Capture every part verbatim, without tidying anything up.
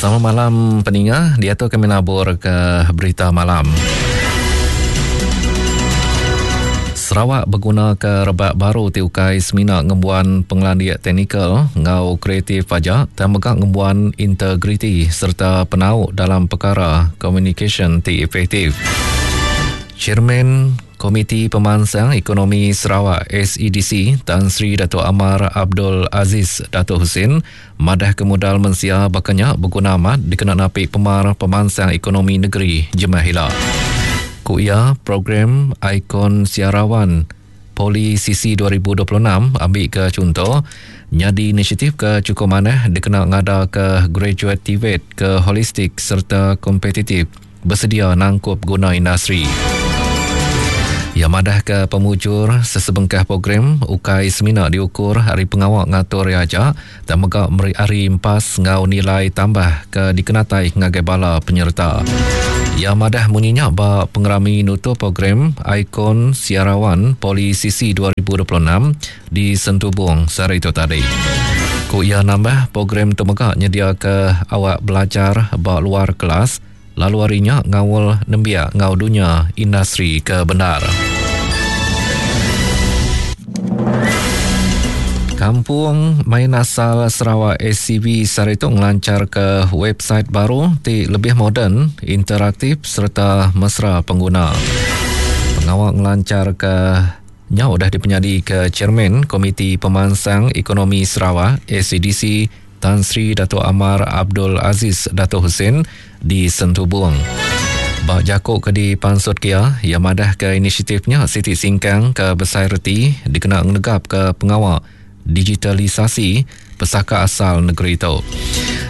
Selamat malam peninga, dia tu kami nabur ke berita malam. Sarawak berguna ke rebak baru ti ukai semina ngembuan pengelandik teknikal ngau kreatif aja, dan mega ngembuan integriti serta penau dalam perkara komunikasyen ti efektif. Chairman Komiti Pemansang Ekonomi Sarawak S E D C Tan Sri Dato' Amar Abdul Aziz Dato' Hussein madah kemudal mensia bakanya berguna amat dikena napi pemar pemansang ekonomi negeri Jemah Hila. Ku ia, program Ikon Siarawan Poli C C dua ribu dua puluh enam ambil ke contoh nyadi inisiatif ke cukup manah dikena ngada ke graduate T V E T ke holistik serta kompetitif bersedia nangkup guna industri. Ia madah ke pemujur sesebengkah program ukai semina diukur hari pengawak ngatur ia aja dan mega meri hari empas ngau nilai tambah ke dikenatai ngagai bala penyerta. Ia madah munyinya ba pengerami nutup program Ikon Siarawan Poli C C dua ribu dua puluh enam di Sentubung sehari itu tadi. Ku ia nambah program tu mega nyedia ke awak belajar ba luar kelas lalu harinya ngawal nembiak ngau dunia industri ke benar. Kampung Main Asal Sarawak S C V sehari itu ngelancar ke website baru ti lebih moden, interaktif serta mesra pengguna. Pengawal ngelancar ke nya udah dipenyadi ke Chairman Komiti Pemansang Ekonomi Sarawak S E D C Tan Sri Dato' Amar Abdul Aziz Dato' Hussein di Sentubung. Bak jakuk ke di Pansut Kia, ia madah ke inisiatifnya Siti Singkang ke Besai Reti dikena ngenegap ke pengawal digitalisasi pesaka asal negeri itu.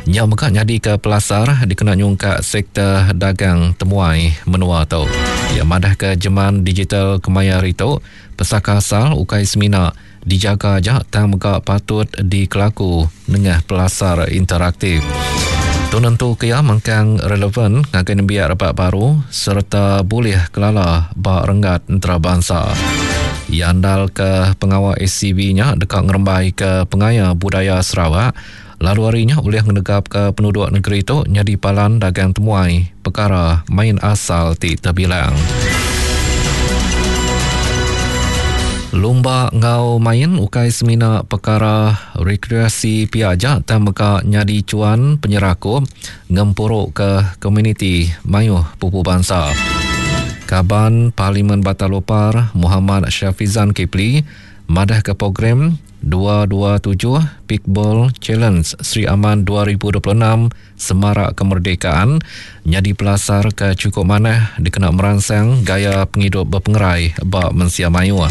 Nya mega nyadi ke pelasar dikena nyungkak sektor dagang temuai menua tu. Ia madah ke jeman digital kemaya itu, pesaka asal ukai semina dijaga aja tang mega patut dikelaku nengah pelasar interaktif. Tu nentu ke ia mengkang relevan ngagai nembiak rebak baru serta boleh kelala ba renggat antarabangsa. Ia andal ke pengawal S C V-nya dekat ngerembai ke pengaya budaya Sarawak lalu harinya boleh ngenegap ke penduduk negeri itu nyadi palan dagang temuai perkara main asal ti terbilang. Lumba ngau main ukai semina perkara rekreasi pia aja tang mega nyadi cuan penyerakup ngempuruk ke komuniti mayuh pupu bangsa. Kaban Parlimen Batalopar Muhammad Syafizan Kipli madah ke program dua dua tujuh Pickball Challenge Sri Aman dua ribu dua puluh enam Semarak Kemerdekaan nyadi pelasar ke cukup manah dikena merangsang gaya penghidup berpengerai ba mensia mayuh.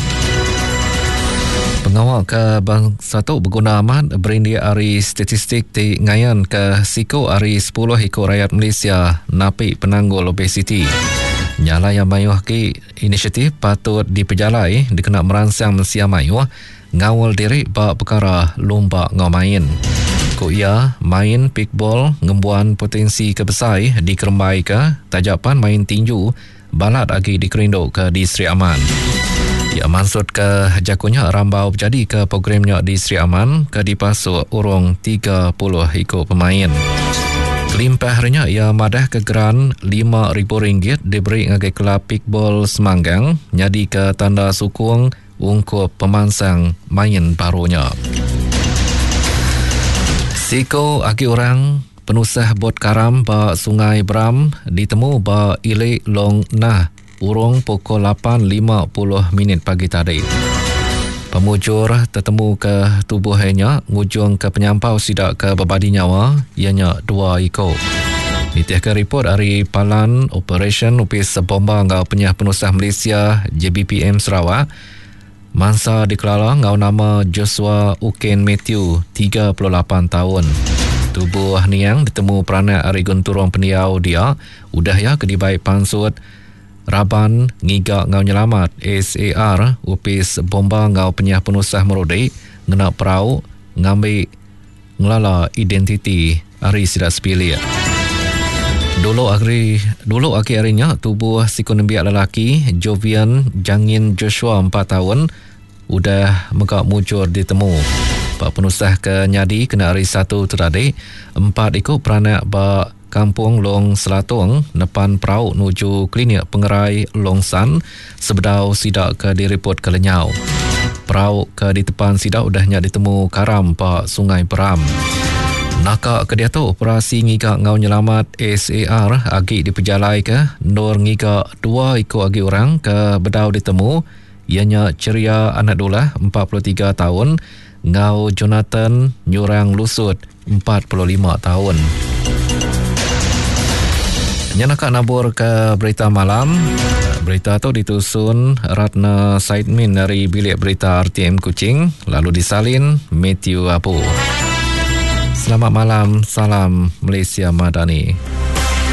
Pengawal ke bangsa tu berguna amat berindik ari statistik ti ngayan ke siku ari sepuluh ikut rakyat Malaysia napi penanggul obesiti. Nyala yang mayuh ki inisiatif patut dipejalai dikena merangsang mensia mayuh ngawal diri ba perkara lumba ngau main. Ku ia, main pickball ngembuan potensi kebesai dikerembai ke tajapan main tinju balat agi dikerinduk ke di Sri Aman. Ia maksud ke jakunya rambau berjadi ke programnya di Sri Aman ke dipasuk urung tiga puluh ikut pemain. Kelimpah harinya ia madah ke geran lima ribu ringgit diberi ngagai kelab pickball Semanggang nyadi ke tanda sukung ungkup pemansang main barunya. Siko agi orang penusah bot karam ba Sungai Bram ditemu ba Ilik Long Nah urung pukul lapan lima puluh minit pagi tadi. Pemujur tertemu ke tubuhnya ngujung ke penyampau sidak ke berbadi nyawa ianya dua iko. Nitih ke report dari Palan Operation Upis Bomba Ngau Penyah Penusah Malaysia J B P M Sarawak, mangsa dikelala ngau nama Joshua Uken Matthew, tiga puluh lapan tahun. Tubuh niang ditemu peranak ari Genturung Pendiau dia, udah ya ke dibaik pansut Raban Ngiga Ngau Nyelamat S A R Upis Bomba Ngau Penyah Penusah Merudi ngena perau ngambil ngelala identiti ari sidak sepilik. Dulu hari, dulu akhir harinya tubuh siku nembiak lelaki Jovian Jangin Joshua empat tahun udah megak mujur ditemu. Ba penusah ke nyadi kena hari Satu tu tadi, empat iku peranak ba Kampung Long Selatung nepan perau nuju Klinik Pengerai Long San sebedau sida ke diripotka lenyau. Perau ke ditepan sida udah nya ditemu karam ba Sungai Peram. Naka ke diatu operasi ngiga enggau nyelamat S A R agi dipejalaika endur ngiga dua iku agi orang ke bedau ditemu iya nya Ceria Anak Dulah empat puluh tiga taun enggau Jonathan Nyurang Lusut empat puluh lima taun. Nya naka nabur ke berita malam. Berita tu ditusun Ratna Saidmin dari Bilik Berita R T M Kuching lalu disalin Matthew Apu. Selamat malam, salam Malaysia Madani.